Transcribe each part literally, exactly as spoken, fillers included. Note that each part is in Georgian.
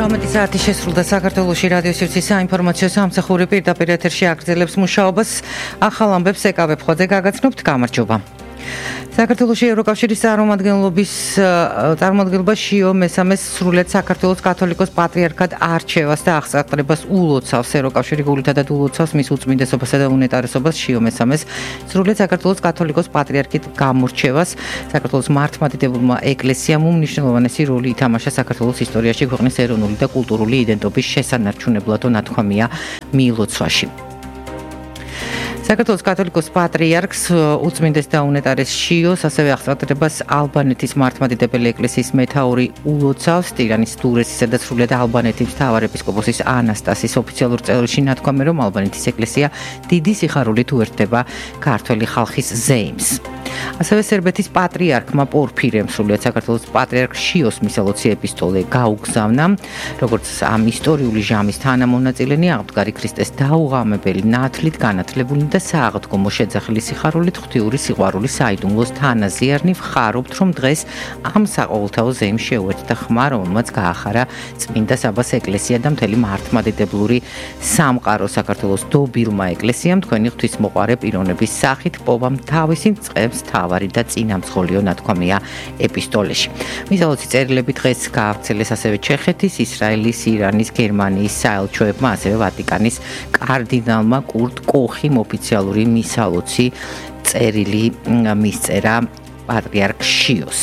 ორმეტი საათი შესრულდა საქართველოში რადიო სივრცის საინფორმაციო სამსახური პირდაპირ ეთერში აგრძელებს მუშაობას. ახალ ამბებს ეკავ ეფხოძე გაგაცნობთ. გამარჯობა. საქართველოში ევროკავშირის წარმომადგენლობის წარმომადგენლობა შიო მესამეს სრულიად საქართველოს კათოლიკოს პატრიარქად არჩევას და აღსაყრებას ულოცავს. ევროკავშირი გულითადად ულოცავს მის უწმინდესობასა და უნეტარესობას შიო მესამეს სრულიად საქართველოს კათოლიკოს პატრიარქით გამორჩევას. საქართველოს მართლმადიდებელმა ეკლესიამ უმნიშვნელოვანესი როლი ითამაშა საქართველოს ისტორიაში ქვეყნის ეროვნული და კულტურული იდენტობის შესანარჩუნებლად ნათქვამია მიილოცვაში. საქართველოს კათოლიკოს პატრიარქს უწმინდეს და უნეტარეს შიოს ასევე აღსაყრებას ალბანეთის მართლმადიდებელი ეკლესიის მეთაური ულოცავს. ტირანის დურესისა და სრულიად ალბანეთის მთავარეპისკოპოსის ანასტასის ოფიციალურ წერილში ნათქვამია, რომ ალბანეთის ეკლესია დიდი სიხარულით უერთდება ქართველი ხალხის ზეიმს. ასევე სერბეთის პატრიარქმა პორფირემ სრულიად საქართველოს პატრიარქ შიოს მისალოცი ეპისტოლე გაუგზავნა. როგორც ამ ისტორიული ჟამის თანამონაწილენი, აღმდგარი ქრისტეს დაუღამებელი, ნათლით განათლებული და სააღდგომო შეძახილი სიხარულით ღვთიური სიყვარულის საიდუმლოს თანაზიარნი ვხარობთ, რომ დღეს ამ საყოველთაო ზეიმს შეუერთდა ხმა, რომელმაც გაახარა წმინდა საბას ეკლესია და მთელი მართლმადიდებლური სამყარო. საქართველოს დობილმა ეკლესიამ თქვენი ღვთისმოყვარე პიროვნების სახით პოვამ თავისი წყებს თავარი და წინამძღოლიო ნათქვამია ეპისტოლეში. მისალოცი წერილები დღეს გაავრცელეს ასევე ჩეხეთის, ისრაელის, ირანის, გერმანიის საელჩოებმა, ასევე ვატიკანის კარდინალმა კურტ კოხიმ ოფიციალური მისალოცი წერილი მისწერა პატრიარქ შიოს.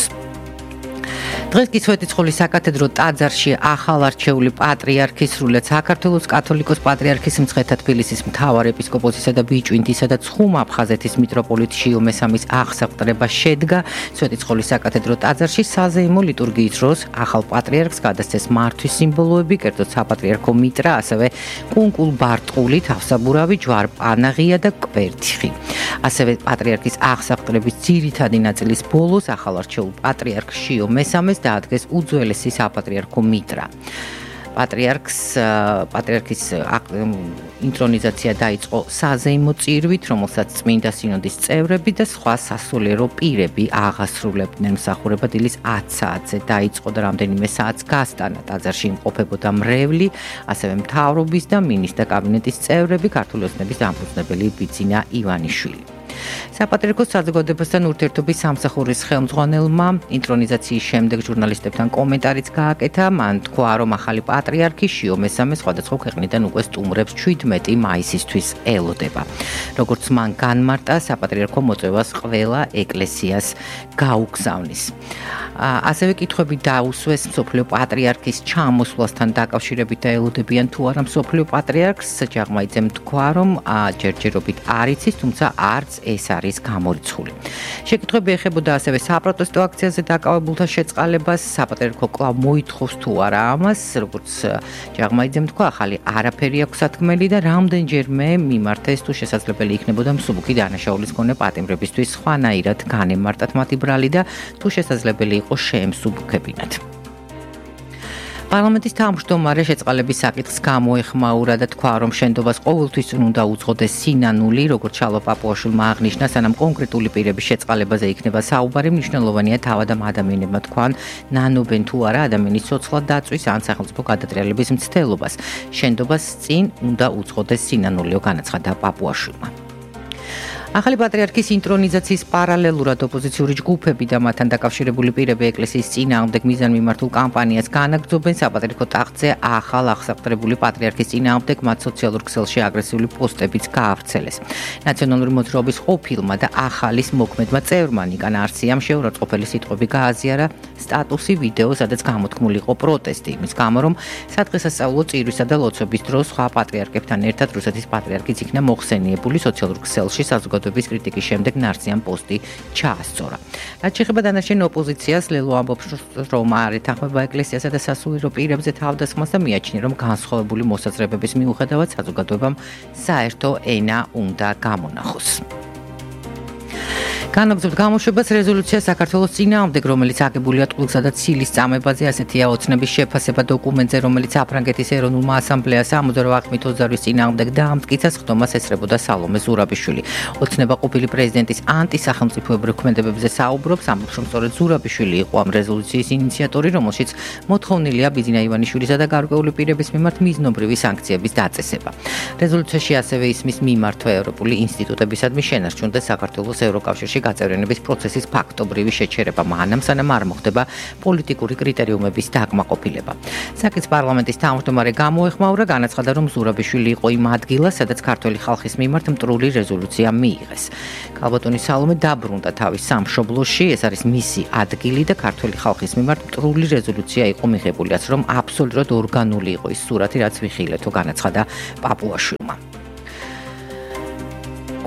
დღეს კი სვეტიცხოვლის საკათედრო ტაძარში ახალარჩეული პატრიარქის სრულიად საქართველოს კათოლიკოს პატრიარქის მცხეთა თბილისის მთავარეპისკოპოსისა და ბიჭვინთისა და ცხუმ-აფხაზეთის მიტროპოლიტ შიო მესამის აღსაყრება შედგა. სვეტიცხოვლის საკათედრო ტაძარში საზეიმო ლიტურგიის დროს ახალ პატრიარქს გადასცეს მართვის სიმბოლოები, კერძოდ საპატრიარქო მიტრა, ასევე კუნკულ ბარტყული, თავსაბურავი, ჯვარ-პანაღია და კვერთხი. ასევე პატრიარქის აღსაყრების ძირითადი ნაწილის ბოლოს ახალარჩეულ პატრიარქ შიო მესამეს დაადგეს უძველესი საპატრიარქო მიტრა. პატრიარქს პატრიარქის ინტრონიზაცია დაიწყო საზეიმო წირვით, რომელსაც წმინდა სინოდის წევრები და სხვა სასულიერო პირები აღასრულებდნენ. მსახურება დილის ათი საათზე დაიწყო და რამდენიმე საათს გასტანა. ტაძარში იმყოფებოდა მრევლი, ასევე მთავრობის და მინისტრთა კაბინეტის წევრები, ქართული ოცნების დამფუძნებელი ბიძინა ივანიშვილი. საპატრიარქოს საზოგადოებასთან ურთიერთობის სამსახურის ხელმძღვანელმა ინტრონიზაციის შემდეგ ჟურნალისტებთან კომენტარიც გააკეთა. მან თქვა, რომ ახალი პატრიარქი შიო მესამე სხვადასხვა ქვეყნიდან უკვე სტუმრებს შვიდმეტი მაისისთვის ელოდება. როგორც მან განმარტა, საპატრიარქო მოწვევას ყველა ეკლესიას გაუგზავნის. ასევე კითხვები დაუსვეს მსოფლიო პატრიარქის ჩამოსვლასთან დაკავშირებით და ელოდებიან თუ არა მსოფლიო პატრიარქს. ჯაღმაიძემ თქვა, რომ ჯერჯერობით არ იცის, თუმცა არც ეს არის გამორიცხული. შეკითხვები ეხებოდა ასევე საპროტესტო აქციაზე დაკავებულთა შეწყალებას. საპატრიარქო კვლავ მოითხოვს თუ არა ამას, როგორც ჯაღმაიძემ თქვა, ახალი არაფერი აქვს სათქმელი და რამდენჯერმე მიმართეს, თუ შესაძლებელი იქნებოდა მსუბუქი დანაშაულის მქონე პატიმრებისთვის სხვანაირად განემარტათ მათი ბრალი და თუ შესაძლებელი იყო შეემსუბუქებინათ. პარლამენტის თავმჯდომარე შეწყალების საკითხს გამოეხმაურა და თქვა, რომ შენდობას ყოველთვის უნდა უძღოდეს სინანული, როგორც ჩალო პაპუაშვილმა აღნიშნა, სანამ კონკრეტული პირების შეწყალებაზე იქნება საუბარი, მნიშვნელოვანია თავად ამ ადამიანებმა თქვან, ნანობენ თუ არა ადამიანის ცოცხლად დაწვის ან სახელმწიფო გადატრიალების მცდელობას. შენდობას წინ უნდა უძღოდეს სინანულიო, განაცხადა პაპუაშვილმა. ახალი პატრიარქის ინტრონიზაციის პარალელურად ოპოზიციური ჯგუფები და მათთან დაკავშირებული პირები ეკლესიის წინააღმდეგ მიზანმიმართულ კამპანიას განაგრძობენ. საპატრიარქო ტახტზე ახალ აღსაყრებული პატრიარქის წინააღმდეგ მათ სოციალურ ქსელში აგრესიული პოსტებიც გაავრცელეს. ნაციონალური მოძრაობის ყოფილმა და ახალის მოქმედმა წევრმა ნიკა ნარციამ შეურაცხყოფელი სიტყვები გააზიარა სტატუსი ვიდეო, სადაც გამოთქმული იყო პროტესტი იმის გამო, რომ სადღესასწაულო წირვისა და ლოცვების დროს სხვა პატრიარქებთან ერთად რუსეთის პატრიარქიც იქნა მოხსენიებული. სოციალურ ქსელში საზოგადოების კრიტიკის შემდეგ ნარციამ პოსტი ჩაასწორა. რაც შეეხება დანარჩენ ოპოზიციას, ლელო ამბობს, რომ არ ეთანხმება ეკლესიასა და სასულიერო პირებზე თავდასხმას და მიაჩნია, რომ განსხვავებული მოსაზრებების მიუხედავად საზოგადოებამ საერთო ენა უნდა გამონახოს. განაგრძობთ გამოშვებას რეზოლუცია საქართველოს წინააღმდეგ, რომელიც აგებულია ტყუილსა და ცილის წამებაზე, ასეთია ოცნების შეფასება დოკუმენტზე, რომელიც აფრანგეთის ეროვნულმა ასამბლეას სამოცდაოთხ აღქმით ოცდაოთხის წინააღმდეგ დაამტკიცა, ხდომას ესწრებოდა სალომე ზურაბიშვილი. ოცნება ყოფილი პრეზიდენტის ანტისახელმწიფოებრივ ქმედებებზე საუბრობს, ამბობს, რომ სწორედ ზურაბიშვილი იყო ამ რეზოლუციის ინიციატორი, რომელშიც მოთხოვნილია ბიძინა ივანიშვილისა და გარკვეული პირების მიმართ მიზნობრივი სანქციების დაწესება. რეზოლუციაში ასევე ისმის მიმართვა ევროპული ინსტიტუტებისადმი შენარჩუნდეს საქართველოს ევროკავშირში გაწევრიანების პროცესის ფაქტობრივი შეჩერება, მანამ სანამ არ მოხდება პოლიტიკური კრიტერიუმების დაკმაყოფილება. საკითხს პარლამენტის თავმჯდომარე გამოეხმაურა, განაცხადა, რომ ზურაბიშვილი იყო იმ ადგილას, სადაც ქართველი ხალხის მიმართ მტრული რეზოლუცია მიიღეს. ქალბატონი სალომე დაბრუნდა თავის სამშობლოში, ეს არის მისი ადგილი და ქართველი ხალხის მიმართ მტრული რეზოლუცია იყო მიღებული, რაც რომ აბსოლუტურად ორგანული იყო ის სურათი, რაც ვიხილეთო, განაცხადა პაპუაშვილმა.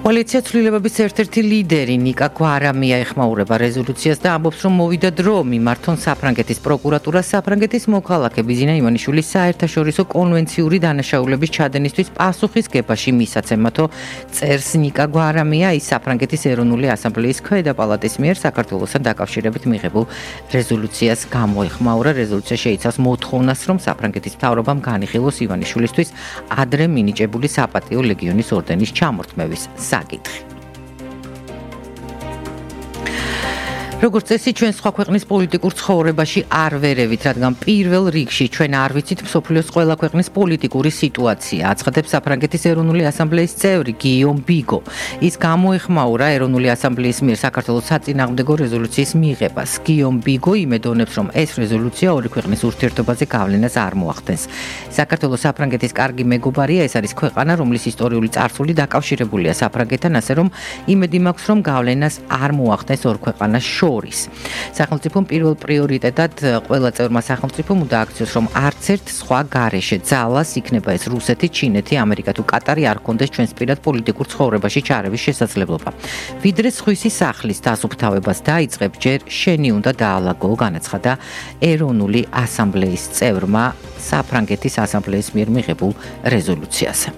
კოალიცია ცვლილებების ერთ-ერთი ლიდერი ნიკა გვარამია ეხმაურება რეზოლუციას და ამბობს, რომ მოვიდა დრო მიმართონ საფრანგეთის პროკურატურას საფრანგეთის მოქალაქე ბიძინა ივანიშვილის საერთაშორისო კონვენციური დანაშაულების ჩადენისთვის პასუხისგებაში მისაცემათო წერს ნიკა გვარამია, ის საფრანგეთის ეროვნული ასამბლეის ქვედა პალატის მიერ საქართველოსთან დაკავშირებით მიღებულ რეზოლუციას გამოეხმაურა. რეზოლუცია შეიცავს მოთხოვნას, რომ საფრანგეთის მთავრობამ განიხილოს ივანიშვილისთვის ადრე მინიჭებული საპატიო ლეგიონის ორდენის ჩამორთმევის საკითხი. როგორც წესი, ჩვენ სხვა ქვეყნის პოლიტიკურ ცხოვრებაში არ ვერევით, რადგან პირველ რიგში ჩვენ არ ვიცით მსოფლიოს ყველა ქვეყნის პოლიტიკური სიტუაცია, აცხადებს საფრანგეთის ეროვნული ასამბლეის წევრი გიომ ბიგო. ის გამოეხმაურა ეროვნული ასამბლეის მიერ საქართველოს საწინააღმდეგო რეზოლუციის მიღებას. გიომ ბიგო იმედოვნებს, რომ ეს რეზოლუცია ორი ქვეყნის ურთიერთობაზე გავლენას არ მოახდენს. საქართველოს საფრანგეთის კარგი მეგობარია, ეს არის ქვეყანა, რომლის ისტორიული წარსული დაკავშირებულია საფრანგეთთან, ასე რომ იმედი მაქვს, რომ გავლენას არ მოახდენს ორ ქვეყანას შორის. სახელმწიფომ პირველ პრიორიტეტად ყველა წევრმა სახელმწიფომ უნდა აქციოს, რომ არც ერთ სხვა გარეშე ძალას, იქნება ეს რუსეთი, ჩინეთი, ამერიკა თუ კატარი, არ კონდეს ჩვენს პირად პოლიტიკურ ცხოვრებაში ჩარევის შესაძლებლობა. ვიდრე სხვისი სახლის დასუფთავებას დაიწყებ, ჯერ შენი უნდა დაალაგო, განაცხადა ეროვნული ასამბლეის წევრმა საფრანგეთის ასამბლეის მიერ მიღებულ რეზოლუციაზე.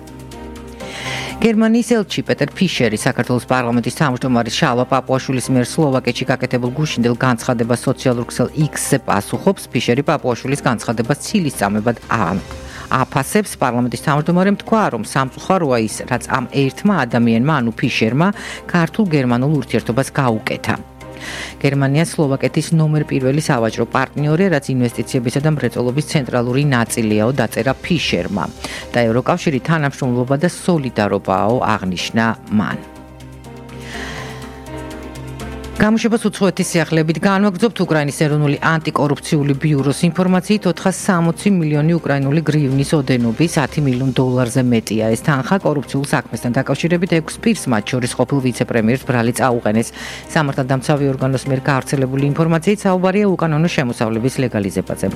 გერმანიის ელჩი პეტერ ფიშერი საქართველოს პარლამენტის თავმჯდომარის შალვა პაპუაშვილის მიერ სლოვაკეთში გაკეთებულ გუშინდელ განცხადებას სოციალურ ქსელ X-ზე პასუხობს. ფიშერი პაპუაშვილის განცხადებას ცილის წამებად აფასებს. პარლამენტის თავმჯდომარემ თქვა, რომ სამწუხაროა ის, რაც ამ ერთმა ადამიანმა, ანუ ფიშერმა, ქართულ-გერმანულ ურთიერთობას გაუკეთა. გერმანია სლოვაკეთის ნომერ პირველი სავაჭრო პარტნიორია, რაც ინვესტიციებისა და მრეწველობის ცენტრალური ნაწილიაო, დაწერა ფიშერმა და ევროკავშირი თანამშრომლობა და სოლიდარობაო, აღნიშნა მან. გამოშვებას უცხოეთის სიახლეებით განვაგრძობთ. უკრაინის ეროვნული ანტიკორუფციული ბიუროს ინფორმაციით ოთხას სამოცი მილიონი უკრაინული გრივნის ოდენობის ათი მილიონ დოლარზე მეტია. ეს თანხა კორუფციულ საქმესთან დაკავშირებით ექვს პირს, მათ შორის ყოფილ ვიცე-პრემიერს ბრალი წაუყენეს. სამართალდამცავი ორგანოს მიერ გავრცელებული ინფორმაციით საუბარია უკანონო შემოსავლების ლეგალიზებაზე.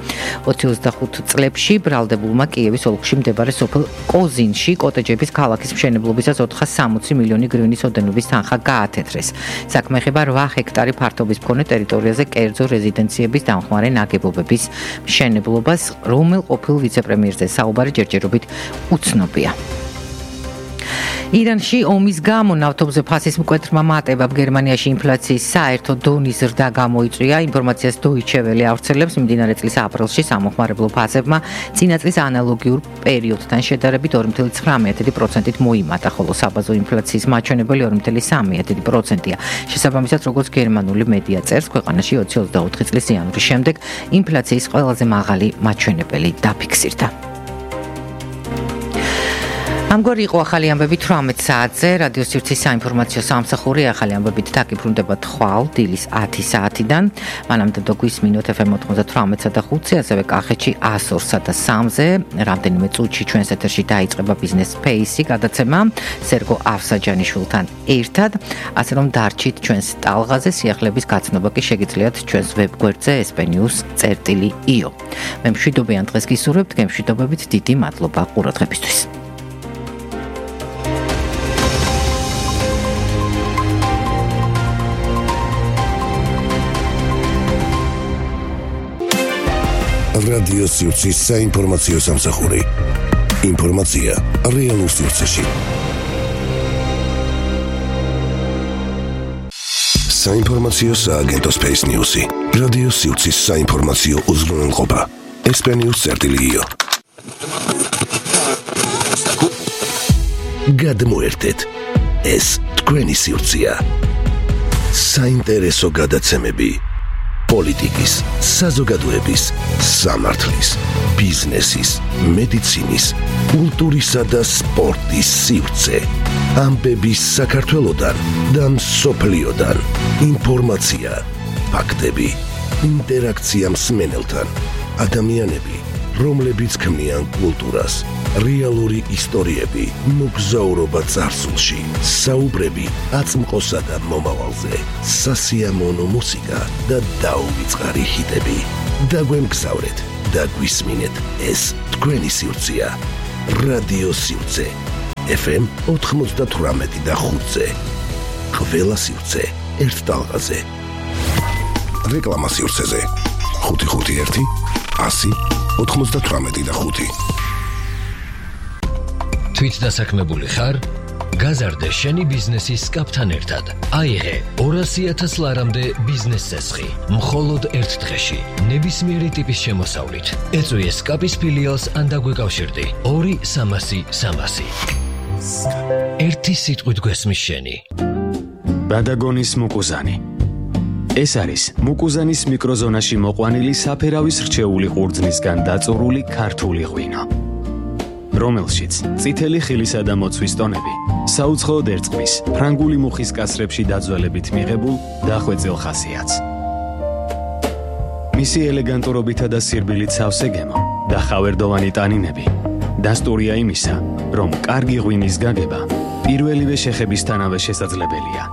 ოცი ოცდახუთ წლებში ბრალდებულმა კიევის ოლქში მდებარე სოფელ კოზინში კოტეჯების ქალაქის მშენებლობისას ოთხას სამოცი მილიონი გრივნის ოდენობის თანხა გაათეთრეს. საქმე ეხება რვა ჰექტარი ფართობის მქონე ტერიტორიაზე კერძო რეზიდენციების დამხმარე ნაგებობების მშენებლობას, რომელ ყოფილ ვიცე-პრემიერზე საუბარი ჯერჯერობით უცნობია. ირანში ომის გამო ნავთობზე ფასის მკვეთრმა მატებამ გერმანიაში ინფლაციის საერთო დონის ზრდა გამოიწვია. ინფორმაციას Deutsche Welle ავრცელებს, მიმდინარე წლის აპრილში სამოხმარებლო ფასებმა წინა წლის ანალოგიურ პერიოდთან შედარებით ორი წუთი ცხრამეტი პროცენტით მოიმატა, ხოლო საბაზო ინფლაციის მაჩვენებელი ორი წუთი სამი პროცენტია. შესაბამისად, როგორც გერმანული მედია წერს, ქვეყანაში ოცი ოცდაოთხი წლის იანვრის შემდეგ ინფლაციის ყველაზე მაღალი მაჩვენებელი დაფიქსირდა. ამგვარი იყო ახალი ამბები თვრამეტ საათზე. რადიო სივრცის საინფორმაციო სამსახური ახალი ამბებით დაგიბრუნდება თვალ დილის ათი საათიდან. მანამდე გვისმინოთ ეფ ემ ოცდათვრამეტსა და ხუთზე, ასევე კახეთში ას ორსა და სამზე. რამდენიმე წუთში ჩვენს ეთერში დაიწყება ბიზნეს სპეისი გადაცემა სერგო ავსაჯანიშვილთან ერთად. ასე რომ დარჩით ჩვენს ტალღაზე, სიახლეების გაცნობა კი შეგიძლიათ ჩვენს ვებგვერდზე es pe news წერტილი io. მე მშვიდობიან დღეს გისურვებთ, გემშვიდობებით, დიდი მადლობა ყურადღებისთვის. რადიო სივრცის საინფორმაციო სამსახური. ინფორმაცია რეალურ სივრცეში. საინფორმაციო სააგენტო Space News-ი. რადიო სივრცის საინფორმაციო უზრუნველყოფა. ესპანიურ წერტილიო. გადმოერთეთ. ეს თქვენი სივრცეა. საინტერესო გადაცემები. პოლიტიკის, საზოგადოების, სამართლის, ბიზნესის, მედიცინის, კულტურისა და სპორტის სივრცე. ამბების საქართველოდან და მსოფლიოდან. ინფორმაცია, ფაქტები, ინტერაქცია მსმენელთან. ადამიანები, რომლებიც ქმნიან კულტურას, რეალური ისტორიები, მოგზაურობა წარსულში, საუბრები აწმყოსა და მომავალზე, სასიამოვნო მუსიკა და დაუვიწყარი ჰიტები. დაგვემგზავრეთ და გვისმინეთ, ეს თქვენი სივრცეა. რადიო სივრცე. ეფ ემ ოცდაოთხ და ხუთზე. ყველა სივრცე ერთ ტალღაზე. რეკლამა სივრცეზე. ხუთი ხუთი ერთი ასი ოცდაოთხ და ხუთი. თვით დასაქმებული ხარ? გაზარდე შენი ბიზნესის კაპთან ერთად. აიღე ორასი ათას ლარამდე ბიზნეს წესხი. მხოლოდ ერთ დღეში. ნებისმიერი ტიპის შემოსავლით. ეწვიე სკაპის ფილიალს ან დაგვეკავშირდი. ორი სამასი სამასი. ერთი სიტყვით გვესმის შენი. ბადაგონის მუკუზანი. ეს არის მუკუზანის მიკროზონაში მოყვანილი საფერავის რჩეული ყურძნისგან დაწურული ქართული ღვინო, რომელშიც წითელი ხილისა და მოცვის ტონები საუცხოოდ ერწყმის ფრანგული მუხის კასრებში დაძველებით მიღებულ დახვეწილ ხასიათს. მისი ელეგანტურობითა და სირბილით სავსე გემო და ხავერდოვანი ტანინები დასტურია იმისა, რომ კარგი ღვინის გაგება პირველივე შეხებისთანავე შესაძლებელია.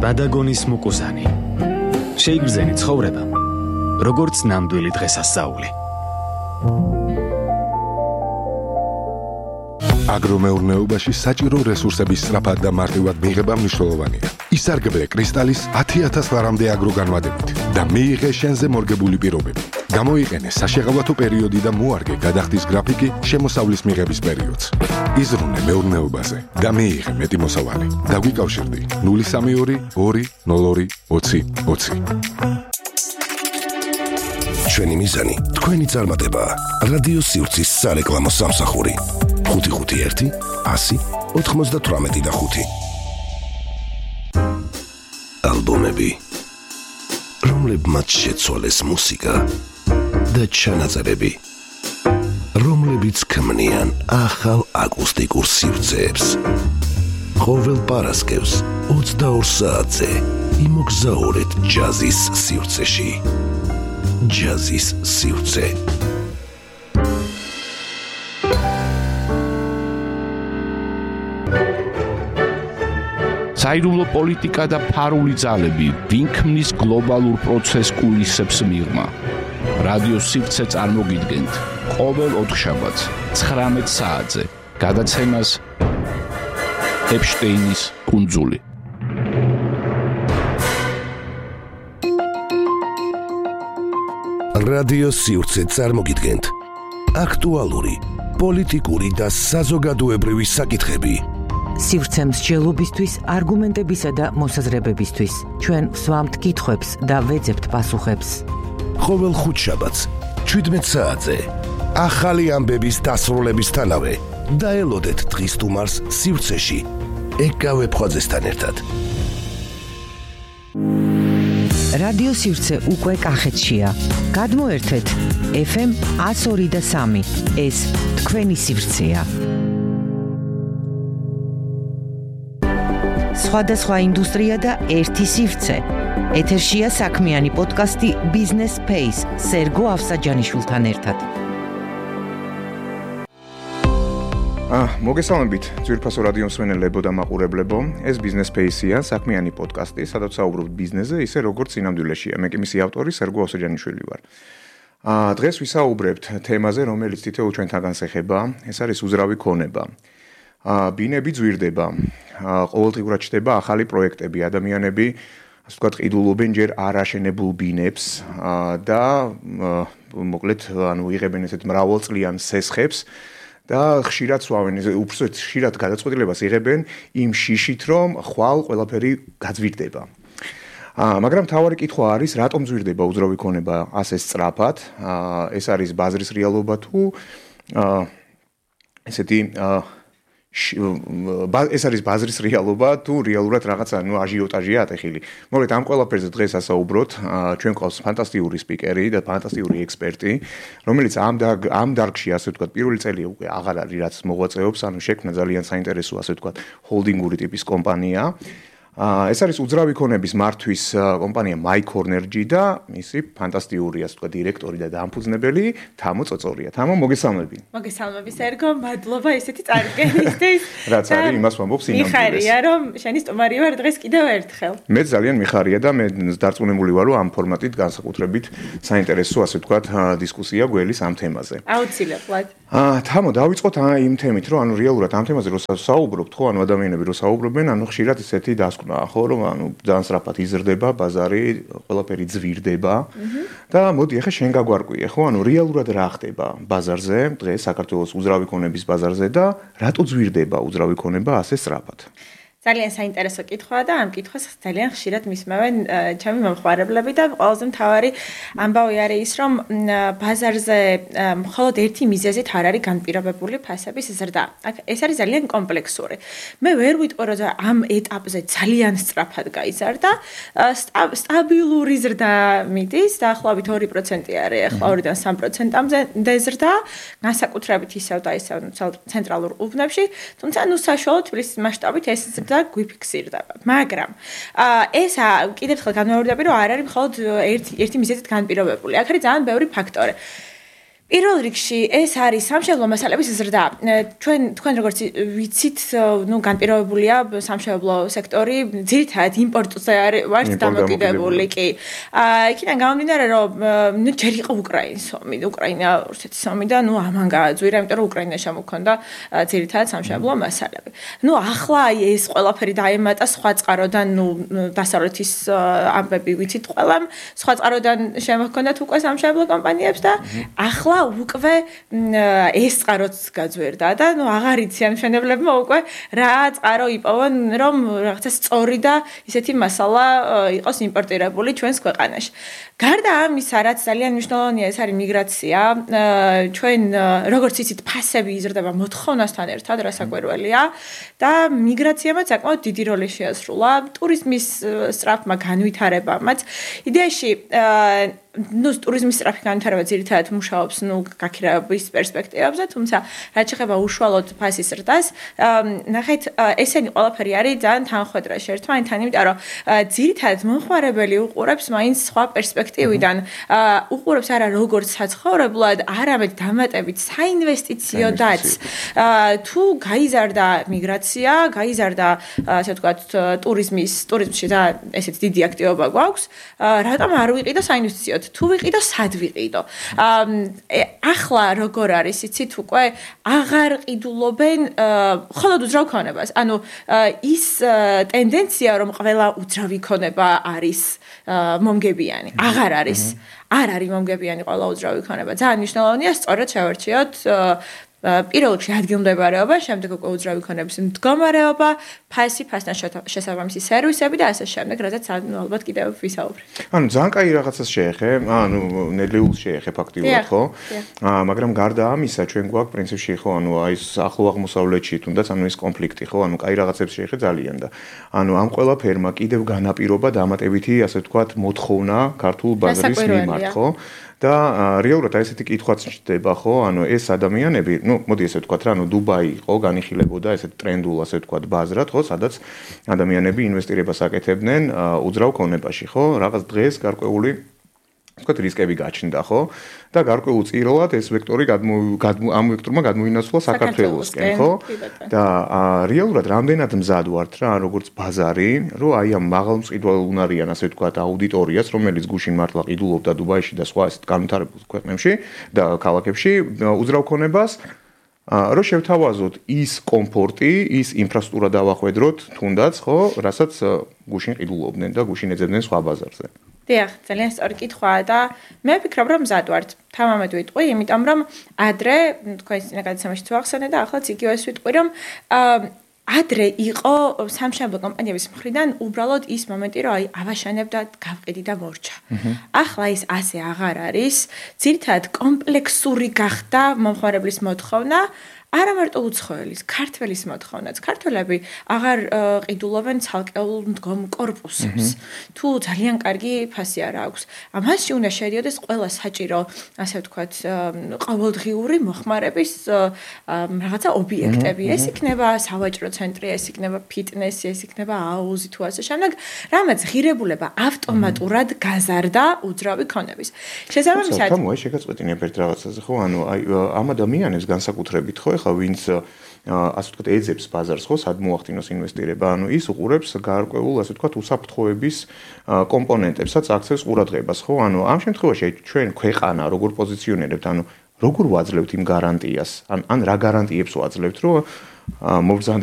ბადაგონის მუკუზანი. შეიგრძენი ცხოვრება, როგორც ნამდვილი დღესასწაული. აგრომეურნეობაში საჭირო რესურსების სწრაფად და მარტივად მიღება მნიშვნელოვანია. ისარგებლე კრისტალის ათი ათას ლარამდე აგროგანვადებით და მიიღე შენზე მორგებული პირობები. გამოიყენე საშეღავათო პერიოდი და მოარგე გადახდის გრაფიკი შემოსავლის მიღების პერიოდს. იზრუნე მეურნეობაზე და მიიღე მეტი მოსავალი. დაგვიკავშირდი ნული სამი ორი ორი ნულ ორი ოცი ოცი. ჩვენი მიზანი თქვენი წარმატებაა. რადიო სივრცის სარეკლამო სამსახური. ხუთი ხუთი ერთი ასი ოცდაოთხ და ხუთი. ალბომები, რომლებმაც შეცვალეს მუსიკა და ჩანაწერები, რომლებიც ქმნიან ახალ აკუსტიკურ სივრცეებს. ყოველ პარასკევს ოცდაორ საათზე იმოგზაურეთ ჯაზის სივრცეში. ჯაზის სივრცე. საიდუმლო პოლიტიკა და ფარული ძალები, ვინ ქმნის გლობალურ პროცესს კულისებს მიღმა. რადიო სივრცე წარმოგიდგენთ ყოველ ოთხშაბათს ცხრამეტ საათზე გადაცემას ეპშტეინის კუნძული. რადიო სივრცე წარმოგიდგენთ აქტუალური, პოლიტიკური და საზოგადოებრივი საკითხები. სივრცე მსჯელობისთვის, არგუმენტებისა და მოსაზრებებისთვის. ჩვენ ვსვამთ კითხვებს და ვეძებთ პასუხებს. ყოველ ხუთშაბათს შვიდმეტ საათზე ახალი ამბების დასრულებისთანავე დაელოდეთ დღის სტუმარს სივრცეში ეკავე ფხვაძესთან ერთად. რადიო სივრცე უკვე კახეთშია. გადმოერთეთ ეფ ემ ათს ორი და სამი. ეს თქვენი სივრცეა. სხვადასხვა ინდუსტრია და ერთი სივრცე. ეთერშია საქმიანი პოდკასტი Business Space სერგო ავსაჯანიშვილთან ერთად. აა, მოგესალმებით, ძვირფასო რადიო მსმენელებო და მაყურებლებო. ეს Business Space-ია, საქმიანი პოდკასტი, სადაც საუბრობთ ბიზნესზე, ისე როგორც სინამდვილეშია. მე კი მისი ავტორი სერგო ავსაჯანიშვილი ვარ. აა, დღეს ვისაუბრებთ თემაზე, რომელიც თითოეულ ჩვენთანგან ეხება. ეს არის უზრავი ქონება. აა, ბინები ძვირდება. აა, ყოველდღიურად ჩდება ახალი პროექტები, ადამიანები ასე ვთქვათ, ყიდულობენ ჯერ არ აშენებულ ბინებს და მოკლედ, ანუ იღებენ ესეთ მრავალწლიან სესხებს და ხშირად სვავენ, უბრალოდ ხშირად გადაწყვეტილებას იღებენ იმ შიშით, რომ ხვალ ყველაფერი გაძვირდება. აა მაგრამ თავარი კითხვა არის, რატომ ზვირდება უძრავი ქონება ასე სწრაფად? აა ეს არის ბაზრის რეალობა თუ აა ესეთი აა ეს არის ბაზრის რეალობა თუ რეალურად რაღაცა ნუ აჟიოტაჟია ატეხილი. მოგეთ ამ ყველაფერზე დღეს ასაუბროთ, ჩვენ ყავს ფანტასტიკური სპიკერი და ფანტასტიკური ექსპერტი, რომელიც ამ ამ დარგში ასე ვთქვათ, პირველი წელი უკვე აღარ არის რაც მოღვაწეობს, ანუ შექმნა ძალიან საინტერესო ასე ვთქვათ, ჰოლდინგური ტიპის კომპანია. ეს არის უძრავი ქონების მართვის კომპანია MyCornergy და მისი ფანტასტიკური ასე ვთქვათ, დირექტორი და დამფუძნებელი თამო წოწორია. თამო, მოგესალმები. მოგესალმები, სერგო, მადლობა ესეთი წარდგენისთვის. რაც არის, იმას ვამბობ სინამდვილეს. მიხარია, რომ შენი სტუმარი ვარ დღეს კიდევ ერთხელ. მე ძალიან მიხარია და მე დარწმუნებული ვარ, რომ ამ ფორმატით განსაკუთრებით საინტერესო ასე ვთქვათ, დისკუსია გველის ამ თემაზე. აუცილებლად. აა, თამო, დავიწყოთ იმ თემით, რომ ანუ რეალურად ამ თემაზე რო საუბრობთ, ხო, ანუ ადამიანები რო საუბრობენ, ანუ ხშირად ესეთი დასკვნაა, ხო, რომ ანუ ძალიან სწრაფად იზრდება ბაზარი, ყველაფერი ძვირდება და მოდი ახლა შენ გაგვარკვიე, ხო, ანუ რეალურად რა ხდება ბაზარზე, დღეს საქართველოს უძრავი ქონების ბაზარზე და რატო ძვირდება უძრავი ქონება ასე სწრაფად? ძალიან საინტერესო კითხვაა და ამ კითხვას ძალიან ხშირად მისმევენ ჩემი მომხმარებლები და ყველაზე მთავარი ამბავი არის ის, რომ ბაზარზე მხოლოდ ერთი მიზეზით არ არის განპირობებული ფასების ზრდა. ეს არის ძალიან კომპლექსური. მე ვერ ვიტყვი, რომ ამ ეტაპზე ძალიან სწრაფად გაიზარდა, სტაბილური ზრდა მიდის, დაახლოებით ორი პროცენტი არის, ახლა ორიდან სამ პროცენტამდე ზრდა, განსაკუთრებით ისევ და ისევ ცენტრალურ უბნებში, თუმცა ნუ საშუალო თბილისის მასშტაბით ეს და გვიფიქსირდება. მაგრამ ეს კიდევ ერთხელ განმეორდები, რომ არ არის მხოლოდ ერთი ერთი მიზეზით განპირობებული. აქ არის ძალიან ბევრი ფაქტორი. პირველ რიგში ეს არის სამშენებლო მასალების ზრდა. ჩვენ თქვენ როგორც ვიცით, ნუ განპირობებულია სამშენებლო სექტორი, ძირითადად იმპორტზე არის დამოკიდებული კი. იქიდან გამომდინარე, რომ ნუ ჯერ იყო უკრაინის ომი, უკრაინა რუსეთის ომი და ნუ ამან გააძვირა, იმიტომ რომ უკრაინაში შემოქონდა ძირითადად სამშენებლო მასალები. ნუ ახლა ეს ყველაფერი დაემატა სხვა წყაროდან, ნუ დასავლეთის ამბები ვიცით ყველამ, სხვა წყაროდან შემოქონდათ უკვე სამშენებლო კომპანიებს და ახლა უკვე ეს წყაროც გაძვირდა და ნუ აღარ იციან მშენებლებმა უკვე რა წყარო იპოვონ, რომ რაღაცა სწორი და ისეთი მასალა იყოს იმპორტირებული ჩვენს ქვეყანაში. გარდა ამისა, რაც ძალიან მნიშვნელოვანია, ეს არის მიგრაცია. ჩვენ როგორც იცით, ფასები იზრდება მოთხოვნასთან ერთად, რასაკვირველია და მიგრაციამ საკმაოდ დიდი როლი შეასრულა ტურიზმის სწრაფმა განვითარებამაც. იდეაში ნუ ტურიზმის სწრაფი განვითარება ძირითადად მუშაობს ნუ გაქირავების პერსპექტივებზე, თუმცა რაც შეეხება უშუალოდ ფასის ზრდას, ნახეთ, ესენი ყველაფერი არის ძალიან თანხვედრა ერთმანეთთან, იმიტომ რომ ძირითადად მომხმარებელი უყურებს მაინც სხვა პერსპექტივიდან, უყურებს არა როგორც საცხოვრებლად, არამედ დამატებით საინვესტიციოდაც. თუ გაიზარდა მიგრაცია, გაიზარდა ასე ვთქვათ ტურიზმის, ტურიზმში და ესეთი დიდი აქტივობა გვაქვს, რატომ არ ვიყიდო საინვესტიციოდ? თუ ვიყიდო, სად ვიყიდო? ახლა როგორ არის, იცით, უკვე აღარ ყიდულობენ მხოლოდ უძრავ ქონებას. ანუ ის ტენდენცია, რომ ყველა უძრავი ქონება არის მომგებიანი, აღარ არის. არ არის მომგებიანი ყველა უძრავი ქონება. ძალიან მნიშვნელოვანია სწორად შევარჩიოთ პირველ რიგში ადგილმდებარეობა, შემდეგ უკვე უძრავი ქონების მდგომარეობა, ფასი, ფასთან შესაბამისი სერვისები და ასე შემდეგ, რადგან ალბათ კიდევ ვისაუბრეთ. ანუ ძალიან კაი რაღაცას შეეხე, ანუ ნედლეულს შეეხე ფაქტიურად, ხო? მაგრამ გარდა ამისა, ჩვენ გვაქვს პრინციპში, ხო, ანუ აი ეს ახლო აღმოსავლეთში თუნდაც ანუ ეს კონფლიქტი, ხო, ანუ კაი რაღაცებს შეეხე ძალიან და ანუ ამ ყველაფერმა კიდევ განაპირობა დამატებითი, ასე ვთქვათ, მოთხოვნა ქართულ ბაზრის მიმართ, ხო? და რეალურად აი ესეთი კითხვაც ჩდება, ხო? ანუ ეს ადამიანები, ну, მოდი ესე ვთქვათ რა, ანუ დუბაი იყო, განიხილებოდა ესეთ ტრენდულ, ასე ვთქვათ, ბაზრად, ხო, სადაც ადამიანები ინვესტირებას აკეთებდნენ უძრავ ქონებაში, ხო? რაღაც დღეს გარკვეული ვთქვათ, რისკები გაჩნდა, ხო? და გარკვეულ წირლად ეს ვექტორი ამ ვექტორმა გადმოინაცვლა საქართველოსკენ, ხო? და რეალურად რამდენად მზად ვართ რა, როგორც ბაზარი, რომ აი ამ მაღალმწკიდვალ უნარიან, ასე ვთქვათ, აუდიტორიას, რომელიც გუშინ მართლა ყიდულობდა დუბაიში და სხვა ესეთ განვითარებულ ქვეყნებში და ქალაქებში უძრავ ქონებას, რომ შევთავაზოთ ის კომფორტი, ის ინფრასტრუქტურა დავახვედროთ, თუნდაც, ხო, რასაც გუშინ ყიდულობდნენ და გუშინ ეძებდნენ სხვა ბაზარზე. დიახ, ძალიან სწორი კითხვაა და მე ვფიქრობ, რომ მზად ვართ. თამამად ვიტყვი, იმიტომ რომ ადრე თქვენ წინა გადაცემაში ვახსენე და ახლა იგივეს ვიტყვი, რომ ადრე იყო სამშენებლო კომპანიების მხრიდან უბრალოდ ის მომენტი, რომ აი ავაშენებ და გავყიდი და მორჩა. ახლა ის ასე აღარ არის. ძირითადად კომპლექსური გახდა მომხმარებლის მოთხოვნა. არა მარტო უცხოელის, ქართველის მოთხოვნაც. ქართველები აღარ ყიდულობენ ცალკეულ მდგომ კორპუსებს. თუ ძალიან კარგი ფასი არა აქვს. ამაში უნდა შედიოდეს ყველა საჭირო, ასე ვთქვათ, ყოველდღიური მოხმარების რაღაცა ობიექტები. ეს იქნება სავაჭრო ცენტრი, ეს იქნება ფიტნესი, ეს იქნება აუზი თუ ასე შემდეგ, რამაც ღირებულება ავტომატურად გაზარდა უძრავი ქონების. შესაბამისად, თამო, აი შეგაწყვეტინებ ერთ რაღაცაზე, ხო? ანუ აი ამ ადამიანებს განსაკუთრებით, ხო? ხა ვინც ასე ვთქვათ ეძებს ბაზარს ხო სად მოახდინოს ინვესტირება ანუ ის უყურებს გარკვეულ ასე ვთქვათ უსაფრთხოების კომპონენტებსაც აქცევს ყურადღებას ხო ანუ ამ შემთხვევაში ჩვენ ქვეყანა როგორ პოზიციონირებთ ანუ როგორ ვაძლევთ იმ გარანტიას ან ან რა გარანტიებს ვაძლევთ რომ მობრძანდი